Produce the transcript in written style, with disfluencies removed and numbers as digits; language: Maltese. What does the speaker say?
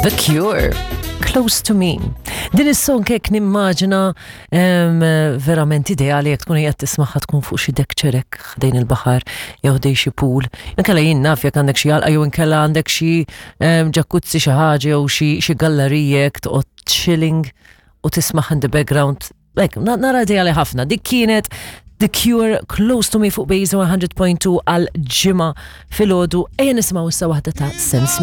The Cure, Close to Me. Din is-song hekk nimmaġina verament ideali jekk tkun qiegħed tismagħha tkun fuq xi deck ċerek ħdejn il-baħar jew ħdejn xi pool. Inkella jien naf jekk għandek xi għalqa jew inkella għandek xi ġakuzzi xi ħaġa jew xi gallerija jekk toqgħod chilling u tismagħha in the background. Hekk, nara ideali ħafna. Dik kienet The Cure Close to Me fuq Base 100.2 għal ġimgħa filgħodu. Ejja nisimgħu issa waħda ta' Sam Smith.